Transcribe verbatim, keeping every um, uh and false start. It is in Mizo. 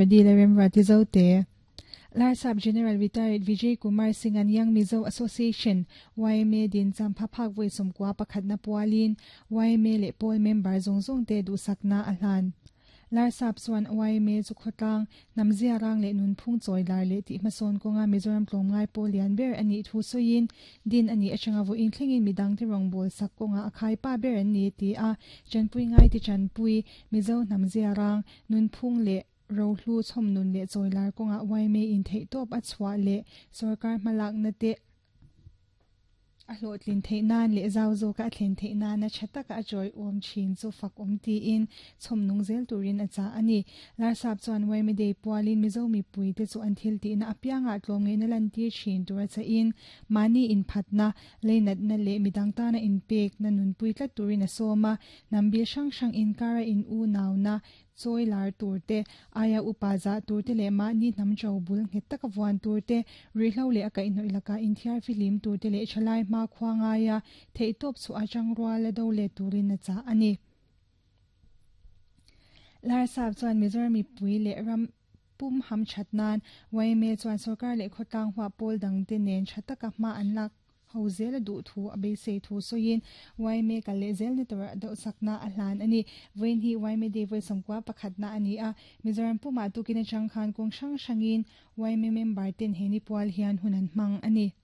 Remruati Zote. Larsap General Retired Vijay Kumar Singh an Young Mizo Association Y M A din champhaphak voi sawmkua pakhatna pualin Y M A leh pawl member zawng zawng te duhsakna a hlan. Larsap chuan Y M A chu khawtlang hnamzia rang leh nunphung chawi lar leh tih hmasawn kawnga Mizoram tlawmngai pawl lian ber a nih thu sawiin din a nih atanga vawiin thlengin midang te rawngbâwl sak kawnga a khaipa ber an ni ti a chanpui ngai ti chanpui Mizo hnamzia rang nunphung leh rohlu chhawmnun leh chawilar kawnga Y M A in theihtawp a chhuah leh sorkar hmalakna te a hlawhtlin theih nan leh zau zawka a thlen theih nana tha taka a chawi awm thin chu fak awm tiin chhawmnung zel turin a chah a ni. Larsap chuan Y M A Day pualin Mizo mipui te chu an thil tihna apiangah tlawmngeihna lantir thin tur a chahin mahni inphatna leinatna leh midang tana inpekna nunpui tlat turin a sawm a hnambil hrang hrang inkara in u nauna chawi lar tur te aia upa zah tur te leh mahni hnam to bul nghet taka vuan tur te ruihhlo leh a kaihhnawih laka inthiar fihlim tur te leh thalai hma khua ngaia theihtawp chu a tangrual a do leh turin a chah a ni. Larsap chuan Mizoram mipui leh ram pum ham that nan Y M A chuan sorkar leh khawtlang hua pawl dang te nen tha taka hma an lak ho zel a duh thu a beisei thu sawiin Y M A kal leh zel ni tur deuh sakna a hlan a ni. Vawiin hi Y M A Day vawi sawmkua pakhatna a ni a Mizoram pumah tukin atang khan kawng hrang hrangin Y M A member ten he ni pual hian hun an hmang a ni.